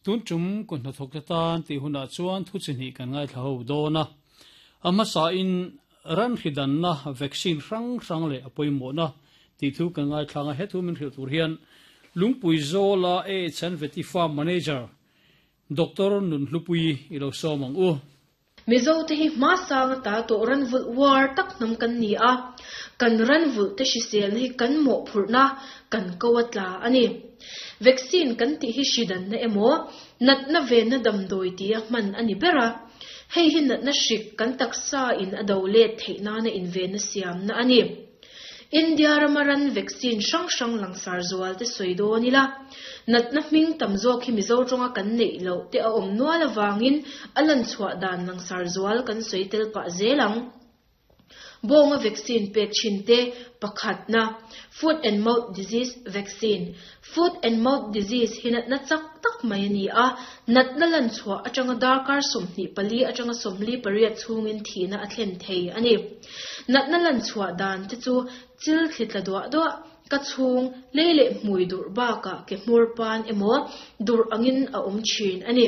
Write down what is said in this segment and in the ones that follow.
Tun tum ku hnathawkte tan tih hunah chuan thu chi hnih kan ngaithla ho dawn a. A hmasain ran hridanna vaccine hrang hrang leh a pawimawhna tih thu kan ngaithlang a. He thu min hrilh tur hian Lungpui Zawla AHN Vety Farm Manager Doctor Nunhlupuii i lo sawm ang u. Mizo te hi hmasang ata tawh ranvulh uar tak hnam kan ni a, kan ranvulh te hriselna hi kan mawhphurhna kan ko a tla a ni. Vaccine kan tih hi hridanna emaw, natna venna damdawi tia hman a ni ber a, hei hi natna hrik kan taksa in a do let theih nana invenna siamna a ni. India rama ran vaccine hrang hrang langsar zual te sawi dawn ila, natna hming tam zawk hi Mizo tawnga kan neih loh te a awm nual avangin a lanchhuah dan langsar zual kan sawi tel pah zel ang. Bawnga vaccine pek thin te pakhatna, Foot and Mouth Disease Vaccine, Foot and Mouth Disease hi natna chak tak mai a ni a, natna lanchhuah atanga darkar 24 atanga 48 chhungin thihna a thlen thei a ni. Natna lanchhuah dan te chu chil thli tla duah duah, ka chhung, lei leh hmui durh bakah ke hmur pan emaw durh angin a awm thin a ni.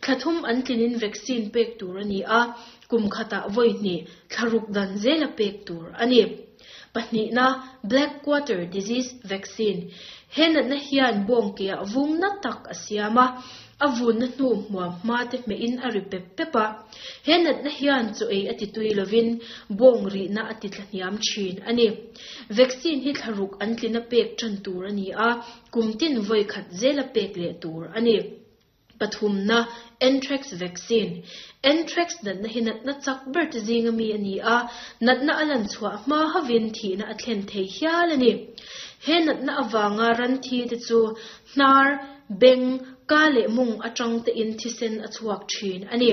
Thla thum an tlinin vaccine pek tur a ni a, kum khatah vawi hnih thla ruk dan zela pek tur a ni. Pahnihna, Black Quarter Disease Vaccine, He natna hian bawng keah vung na tak a siam a, a vunna hnu hmuam hma te hmehin a ri pep pep a. He natna hian chaw ei a ti tui lovin bawng rihna a ti tla hniam thin a ni. Vaccine hi thla ruk an tlina pek tan tur a ni a, kum tin vawi khat zela pek leh tur a ni. Pathumna, Anthrax vaccine. Anthrax natna hi natna chak ber te zinga mi a ni a, natna a lan chhuah hma hovin thihna a thlen thei hial a ni. He natna avanga ran thi te chu hnar, beng, ka leh mung atang tein thisen a chhuak thin a ni.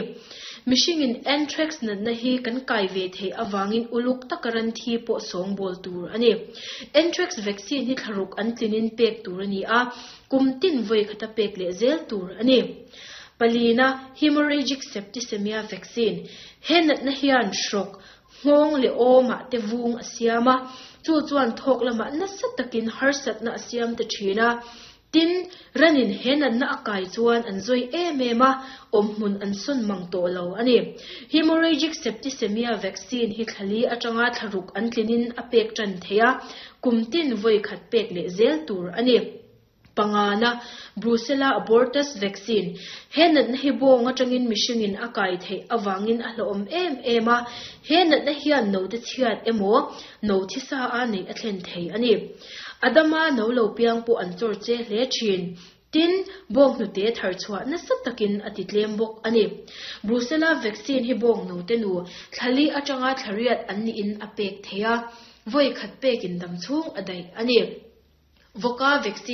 Mihringin Anthrax natna hi kan kai ve theih avangin uluk taka ran thi pawh sawngbawl tur a ni. Anthrax vaccine hi thlaruk an tlinin pek tur a ni a, Kum tin vawi khata pek leh zel tur a ni. Palina, Hemorrhagic septicemia vaccine, He natna hian hrawk, nghawng leh awmah te vung a siam a, chu chuan thawk lamah nasa takin harsatna a siam ta thin a. Tin, ranin he natna a kai chuan an zawi em em a, awmhmun an sawn mang tawh lo a ni. Hemorrhagic septicemia vaccine hi thlali atanga thlaruk an tlinin a pek tan thei a, Kum tin vawi khat pek leh zel tur a ni. Pangana, Brucella abortus vaccine, He natna hi bawng atangin mihringin a kai theih avangin a hlauhawm em em a, he natna hian note chhiat emaw no thisa a neih a thlen thei a ni. Adama no lo piang pawh an chawr che hle thin. Tin, bawnghnute thar chhuah nasa takin a ti tlem bawk a ni. Brucella vaccine hi bawnghnute nu thlali atanga thlariat an niin a pek thei a, vawi khat pekin dam chhung a daih a ni. Voka vaccine.